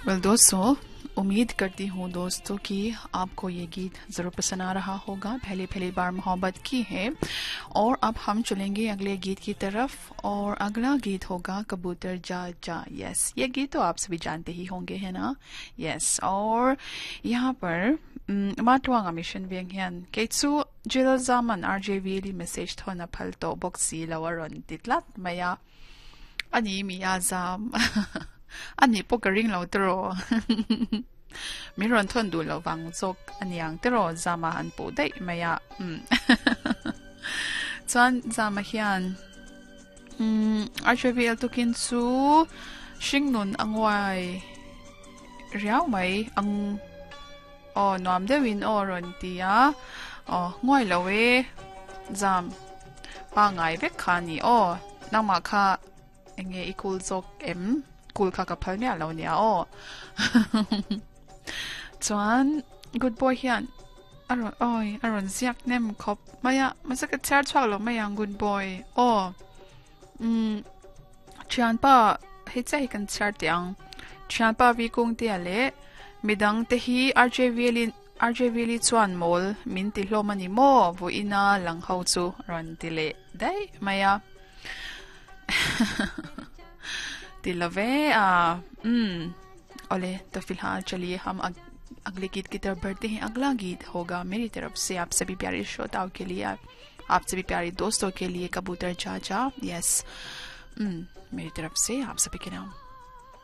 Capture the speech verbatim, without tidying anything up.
Well दोस्तों, उम्मीद करती हूँ दोस्तों कि आपको ये गीत ज़रूर पसंद आ रहा होगा। पहले पहली बार मोहब्बत की है। और अब हम चलेंगे अगले गीत की तरफ और अगला गीत होगा कबूतर जा जा। यस, ये गीत तो आप सभी जानते ही होंगे, है ना? यस। और यहाँ पर matwanga mission veng hian kei chu jil zaman R J V li message thona phal to box si lawaron titlat maya ani mi ya zam ani po ka ring lo tro mi ron thon du lo wang chok aniang tro zama han pu dai maya um chuan zama hian um R J V L tukin chu hringnun angwai riau mai ang o nuam deuhin aw rawn ti a aw nguai lo e zam pa ngai vek kha ni aw nangmah kha enge i kul zawk em kul kha ka phal miah lo nia aw. Chuan good boy hian a rawn oi a rawn ziak nem khawp mai a mahse ka chhiar chhuak lo mai ang. Good boy aw um thianpa hei chiah hi kan chhiar teh ang. Thianpa vi kung te a leh midang te hi R J V in R J V li chuan mawl min ti hlawm ani maw vawiina lang ho chu rawn ti leh daih mai a. Ti love a um ole. तो फिलहाल चलिए, हम अग, अगले गीत की तरफ बढ़ते हैं। अगला गीत होगा मेरी तरफ से आप सभी प्यारे श्रोताओं के लिए, आप सभी प्यारे दोस्तों के लिए, कबूतर जा जा। यस, मेरी तरफ से आप सभी के नाम।